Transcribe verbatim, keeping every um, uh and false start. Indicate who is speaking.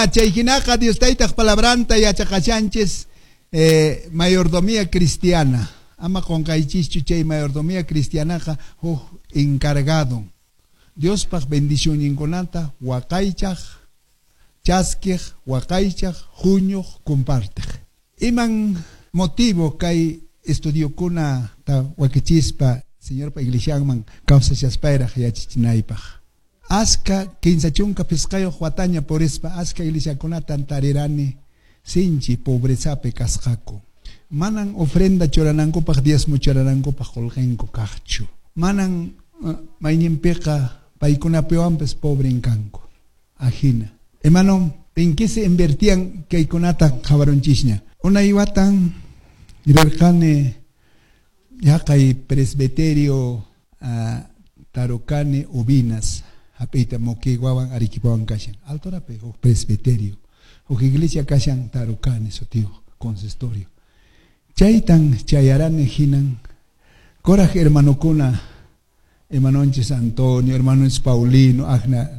Speaker 1: Chay hinaqa Dios Taytaq palabranta yachaqashanchis eh, mayordomía cristiana. Ama qunqaychischu chay mayordomía cristianaqa huk encargado. Diospaq bendicionninkunata waqaychaq, chaskiq, waqaychaq, huñuq, compartiq. Iman motivo kay estudiokuna wakichispa Señorpa iglesianman kawsashaspayraq yachachinaypaq. Aska kinsa chunka pisqayuq wataña purispa aska iglesiakunatan tarirani sinchi pobrezapi kasqaku. Manan ofrenda churanankupaq diezmo churanankupaq qullqinku kaqchu. Manan uh, mayninpiqa paykunapiwanpas pobren kanku. Ajina. Hermano, ¿en qué se invertían kaykunata qhawarunchisña? Unay watan rirqani yaqay presbiterio uh, Tarukani Ubinas hap'iyta Moqueguawan Arequipawan kashan altorapi huk presbiterio huk iglesia kashan Tarukani sutiyuq consistorio chaytan chayarani hinan kuraq hermanokuna hermanonchis Antonio, hermanonchis Paulino, Agna